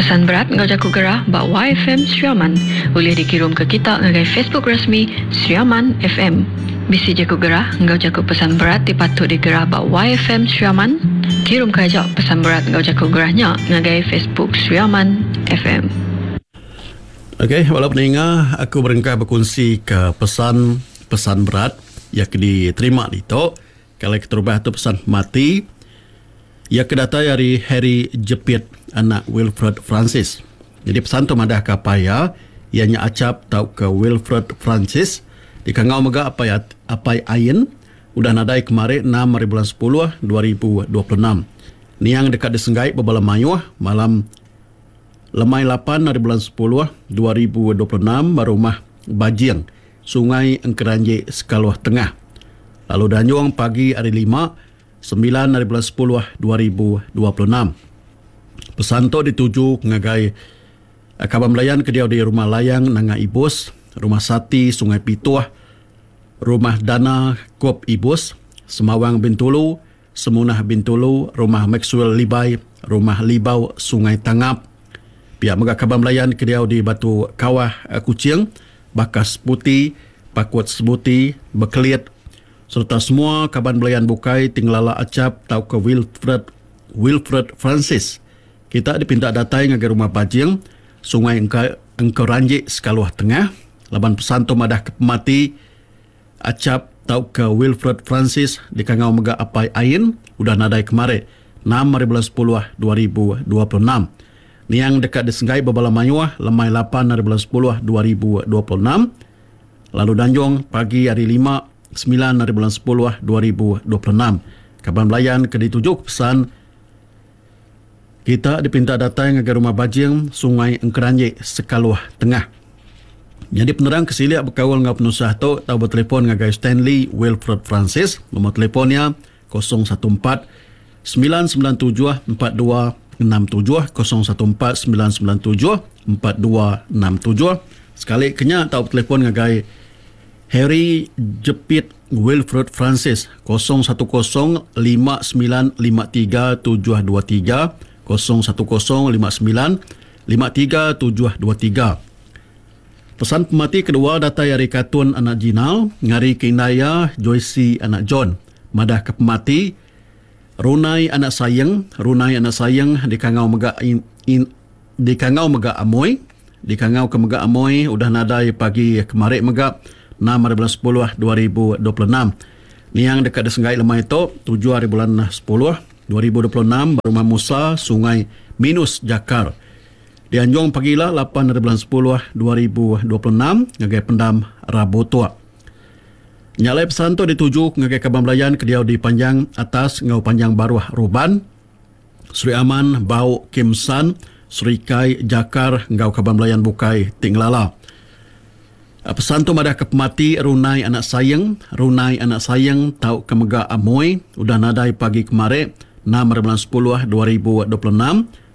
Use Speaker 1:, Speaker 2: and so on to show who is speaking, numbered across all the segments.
Speaker 1: Pesan berat enggau jaku gerah ba YFM Sri Aman ulih dikirumka kita ngagai Facebook rasmi Sri Aman FM. Bisi jaku gerah enggau jaku pesan berat ti patut digerah ba YFM Sri Aman? Kirumka aja pesan berat enggau jaku gerah nya ngagai Facebook Sri Aman FM.
Speaker 2: Ok bala peninga aku berengkah bekunsi ke pesan pesan berat iya ke diterima ditu. Kali keterubah tu pesan pemati iya ke datai ari Harry Jepit anak Wilfred Francis. Nyadi pesan tu madahka apai iya, iya nya Achap tauka Wilfred Francis dikangau mega apai apai Ain udah nadai kemari enam ari bulan sepuluh 2026. Niang deka disenggai bebala mayuh malam lemai lapan ari bulan sepuluh 2026 ba rumah Bajing Sungai Engkeranji Sekaluh Tengah lalu dianjung pagi hari Lima, semilan ari bulan sepuluh 2026. Pesan tu dituju ngagai kaban belayan ke diau di Rumah Layang Nanga Ibus, Rumah Sati Sungai Pituh, Rumah Dana Kop Ibus, Semawang Bintulu, Semunah Bintulu, Rumah Maxwell Libai, Rumah Libau Sungai Tangap. Pia mega kaban belayan ke diau di Batu Kawah Kuching, Bakas Sebuti, Pakut Sebuti, Bekelit sereta semua kaban belayan bukai ti ngelala Achap tauka Wilfred Wilfred Francis. Kita dipinta datai ngagai Rumah Bajing, Sungai Engka Engkeranji Sekaluh Tengah laban pesan tu madahka pemati Achap tauka Wilfred Francis dikangau mega Apai Ain udah nadai kemari enam ari bulan sepuluh 2026. Niang deka disenggai bebala mayuh lemai lapan ari bulan sepuluh 2026 lalu danjung pagi ari lima semilan ari bulan sepuluh 2026. Kaban belayan ke dituju ke pesan Kita dipinta datai ngagai Rumah Bajing, Sungai Engkeranji, Sekaluh Tengah. Nyadi penerang ke silik bekaul enggau penusah tu tau betelefon ngagai Stanley Wilfred Francis, nombor telefon iya 014 997 4267, 014 997 4267. Sekali ke nya tau betelefon ngagai Harry Jepit Wilfred Francis, 010 59 53 723, 010 59 53 723. Pesan pemati kedua datai ari Katun anak Jinal ngari ke indai iya Joycey anak John madahka pemati Runai anak Sayeng, Runai anak Sayeng dikangau mega in, dikangau mega Amoi. Dikangauka mega Amoi udah nadai pagi kemari mega enam ari bulan sepuluh 2026. Niang deka disenggai lemai tu tujuh ari bulan sepuluh 2026 ba Rumah Musa, Sungai Minus, Jakar. Dianjung pagila lapan ari bulan sepuluh 2026 ngagai Pendam Rabu Tuk. Nya alai pesan tu dituju ngagai kaban belayan ke diau di Panjang Atas enggau Panjang Baruh Ruban. Sri Aman, Bau, Kim San, Serikai, Jakar enggau kaban belayan bukai ti ngelala. Pesan tu madahka pemati Runai anak Saing, Runai anak Saing tauka mega Amoi udah nadai pagi kemari enam hari bulan sepuluh 2026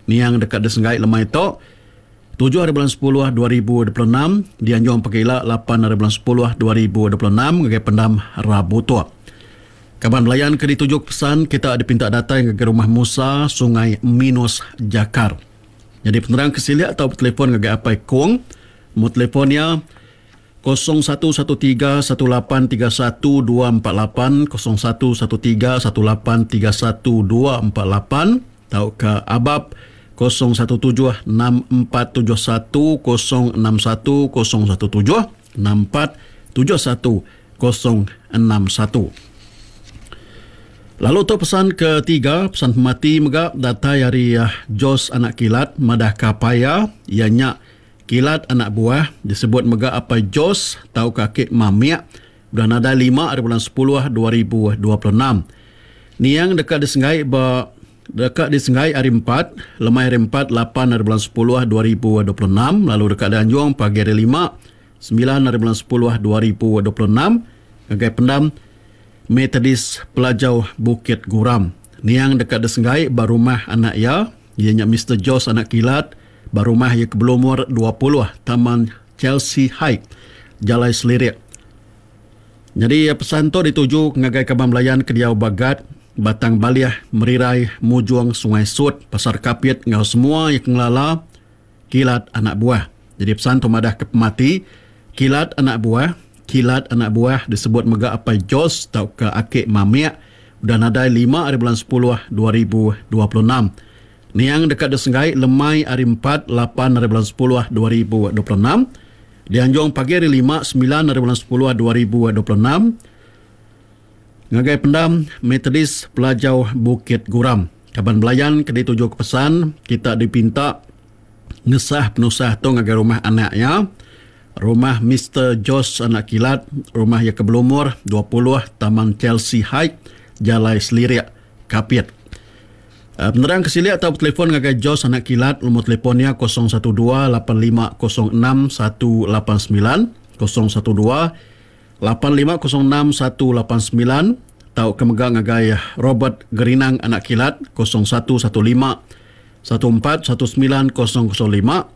Speaker 2: niang deka disenggai lemai tu tujuh hari bulan sepuluh 2026 dianjung pegila lapan hari bulan sepuluh 2026 ngagai pendam Rabu tu. Kaban belayan ke dituju pesan kita dipinta datai ngagai Rumah Musa, Sungai Minus, Jakar. Nyadi penerang ke silik tau betelefon ngagai Apai Kong. Nombor telefon iya 0113 1831 248, 0113 1831 248 tauka Abab 017 6471 061 017 6471 061. Lalu tu pesan ketiga, pesan pemati mega datai ari Jos anak Kilat madahka apai iya, iya nya Kilat anak Buah, disebut mega apai Jos tauka aki Mamik, udah nadai lima ari bulan sepuluh 2026. Niang deka disenggai ba deka disenggai hari empat, lemai hari empat lapan ari bulan sepuluh 2026 lalu deka dianjung pagi hari lima Semilan ari bulan sepuluh 2026 ngagai pendam Methodist Pelajau Bukit Guram. Niang deka disenggai ba rumah anak iya, iya nya Mister Jos anak Kilat ba rumah iya ke belumur 20 Taman Chelsea Height, Jalai Selirik. Nyadi pesan tu dituju ngagai kaban belayan ke diau ba Gat, Batang Balih, Merirai, Mujong, Sungai Sut, Pasar Kapit enggau semua iya ke ngelala. Kilat Anak Buah. Jadi pesan tu madah ke pemati Kilat Anak Buah, Kilat Anak Buah disebut mega Apai Jos tauka Aki Mamik udah nadai lima ari bulan sepuluh 2026. Niang deka disenggai lemai ari empat, lapan ari bulan sepuluh 2026. Dianjung pagi ari lima, semilan ari bulan sepuluh 2026 ngagai pendam Methodist Pelajau Bukit Guram. Kaban belayan ke dituju ke pesan kita dipinta ngesah penusah tu ngagai rumah anak iya, rumah Mister Jos anak Kilat, rumah iya ke belumur 20 Taman Chelsea Height, Jalai Selirik, Kapit. Penerang ke silik tau betelefon ngagai Jos anak Kilat lumur telefon iya 012 8506 189, 012 8506 189 tauka mega ngagai Robert Gerinang anak Kilat 0115 1419 005, 0115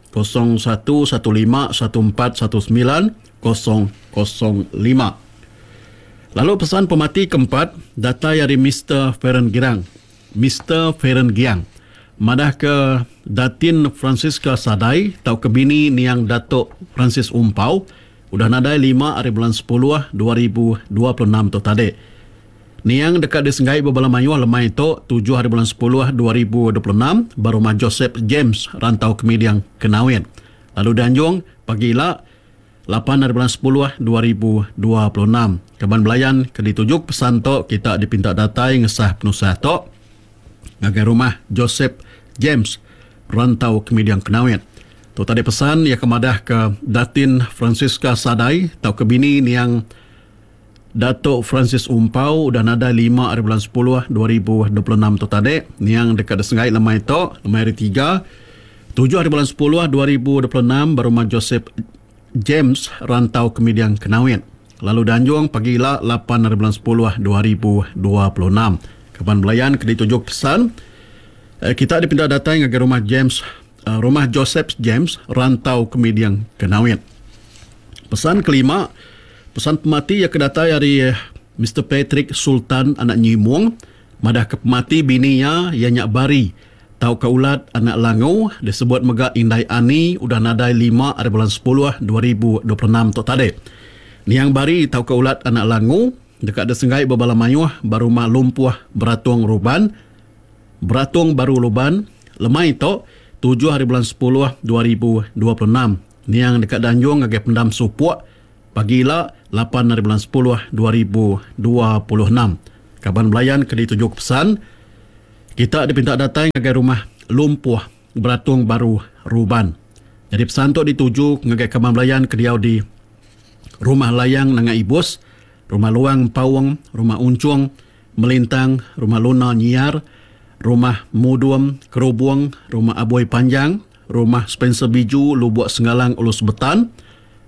Speaker 2: 1419 005. Lalu pesan pemati keempat datai ari Mister Feren Girang. Mister Feren Giang madahka Datin Francisca Sadai tauka bini niang Datuk Francis Umpau udah nadai lima ari bulan sepuluh 2026 tu tadi. Niang deka disenggai bebala mayuh lemai tu tujuh ari bulan sepuluh 2026 ba Rumah Joseph James Rantau Kemiding Kenawit lalu dianjung pagi ila lapan ari bulan sepuluh 2026. Kaban belayan ke dituju pesan tu kita dipinta datai ngesah penusah tu ngagai Rumah Joseph James Rantau Kemiding Kenawit. Tu tadi pesan iya ke madah ke Datin Francisca Sadai tauka bini niang Datuk Francis Umpau udah nadai lima ari bulan sepuluh 2026 tu tadi. Niang deka disenggai lemai tu, lemai hari tiga, tujuh ari bulan sepuluh 2026 ba Rumah Joseph James Rantau Kemiding Kenawit. Lalu dianjung pagi ila lapan ari bulan sepuluh 2026. Kaban belayan ke dituju pesan kita dipinta datai ngagai Rumah James Rumah Joseph James Rantau Kemiding Kenawit. Pesan kelima, pesan pemati iya ke datai ari Mister Patrick Sultan anak Nyimung madahka pemati bini iya iya nya Bari tauka Ulat anak Langu disebut mega Indai Ani udah nadai lima ari bulan sepuluh 2026 tu tadi. Niang Bari tauka Ulat anak Langu deka disenggai bebala mayuh ba Rumah Lumpuh Beratung Ruban, Beratung Baru Luban, lemai tu tujuh ari bulan sepuluh 2026. Niang deka dianjung ngagai Pendam Supok pagi ila lapan ari bulan sepuluh 2026. Kaban belayan ke dituju ke pesan kita dipinta datai ngagai Rumah Lumpuh Beratung Baru Ruban. Nyadi pesan tu dituju ngagai kaban belayan ke diau di Rumah Layang Nanga Ibus, Rumah Luang Empaung, Rumah Unchung, Melintang, Rumah Luna Nyiar, Rumah Mudum Kerubung, Rumah Aboi Panjang, Rumah Spencer Biju Lubuk Sengalang Ulu Sebetan,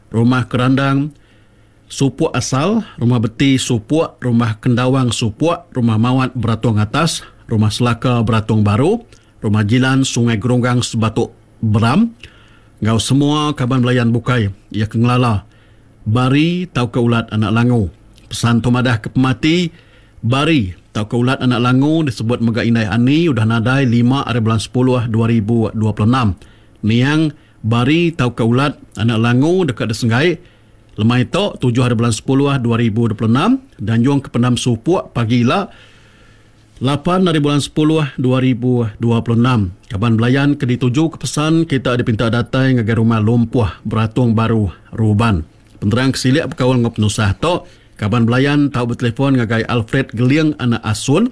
Speaker 2: Rumah Kerandang Supuk Asal, Rumah Beti Supuk, Rumah Kendawang Supuk, Rumah Mawat Beratung Atas, Rumah Selaka Beratung Baru, Rumah Jilan Sungai Gerunggang Sebatuk Beram enggau semua kaban belayan bukai iya ke ngelala Bari tauka Ulat Anak Langu. Pesan tu madah ke pemati Bari tauka Ulat Anak Langu disebut mega Indai Ani udah nadai lima ari bulan sepuluh 2026. Niang Bari tauka Ulat Anak Langu deka disenggai lemai tu tujuh ari bulan sepuluh 2026 dianjung ke Pendam Supuk pagi ila lapan ari bulan sepuluh 2026. Kaban belayan ke dituju ke pesan kita dipinta datai ngagai Rumah Lumpuh Beratung Baru Ruban. Penerang ke silik bekaul enggau penusah tu, kaban belayan tau betelefon ngagai Alfred Geling anak Asun.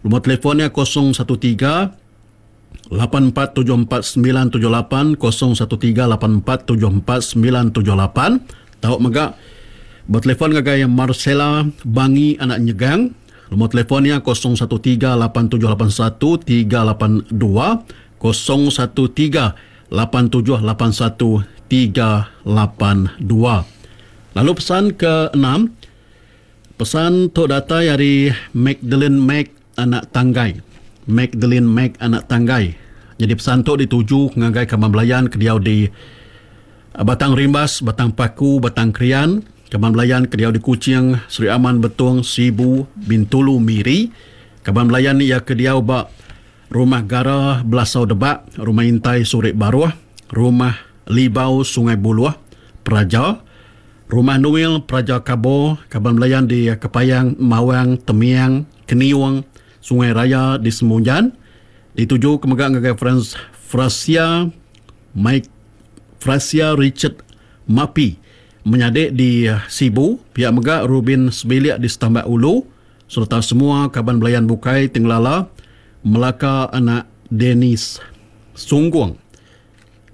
Speaker 2: Lumur telefon iya 013 8474978 013 8474978. Tau mega betelefon ngagai Marcella Bangi anak Nyegang. Lumur telefon iya 013 8781 382 013 8781 382. Lalu pesan ke enam, pesan tu datai ari Magdalene Mac anak Tanggai. Magdalene Mac anak Tanggai. Nyadi pesan tu dituju ngagai kaban belayan ke diau di Batang Rimbas, Batang Paku, Batang Krian, kaban belayan ke diau di Kuching, Sri Aman, Betong, Sibu, Bintulu, Miri, kaban belayan iya ke diau ba Rumah Gara Belasau Debak, Rumah Intai Surik Baruh, Rumah Libau Sungai Buluh, Praja, Rumah Nuil Praja Kabo, kaban belayan di Kepayang, Mawang, Temiang, Keniung, Sungai Raya di Semunjan. Dituju ke mega ngagai Frans Frasia Mike Frasia Richard Mapi menyadi di Sibu, pia mega Rubin sebilik di Setambak Ulu sereta semua kaban belayan bukai ti ngelala Melaka anak Dennis Sunggung.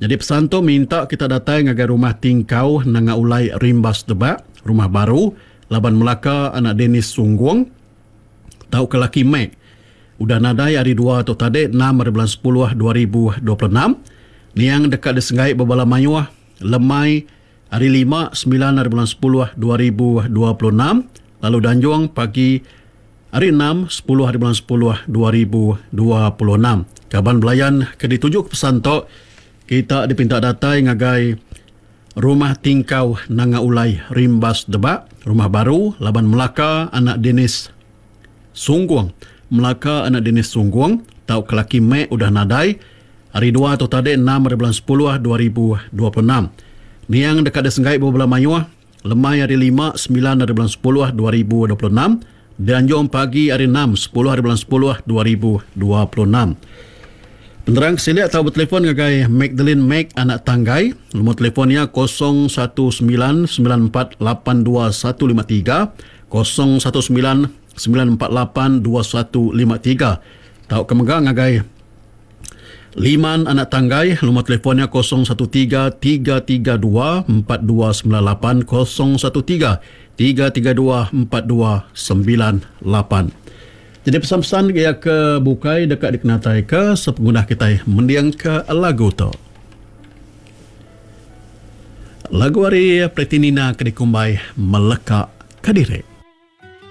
Speaker 2: Nyadi pesan tu minta kita datai ngagai Rumah Tingkau Nanga Ulai Rimbas Debak, Rumah Baru, laban Melaka anak Dennis Sunggung tauka laki Mac udah nadai hari dua tu tadi enam ari bulan sepuluh 2026. Niang deka disenggai bebala mayuh lemai hari lima semilan ari bulan sepuluh 2026 lalu danjung pagi Hari enam, sepuluh hari bulan sepuluh 2026. Kaban belayan ke dituju ke pesan tu, kita dipinta datai ngagai Rumah Tingkau Nanga Ulai Rimbas Debak, Rumah Baru, laban Melaka anak Dennis Sunggung. Melaka anak Dennis Sunggung tauka laki Mek udah nadai hari dua tu tadi enam hari bulan sepuluh 2026. Niang deka disenggai bebela mayuh Lemai hari lima, semilan hari bulan sepuluh 2026, dianjung pagi hari enam, sepuluh hari bulan sepuluh 2026. Penerang ke silik tau betelefon ngagai Magdalene Mac anak Tanggai. Lumur telefon iya 019 948 2153, 019 948 2153. Tauka mega ngagai Liman anak Tanggai, lumur telefon iya 013 332 4298, 013 332 4298. Jadi pesan-pesan iya ke bukai deka dikenataika sepengudah kitai mendingka lagu tu. Lagu ari Pretty Nina ke dikumbai Meleka Kediri.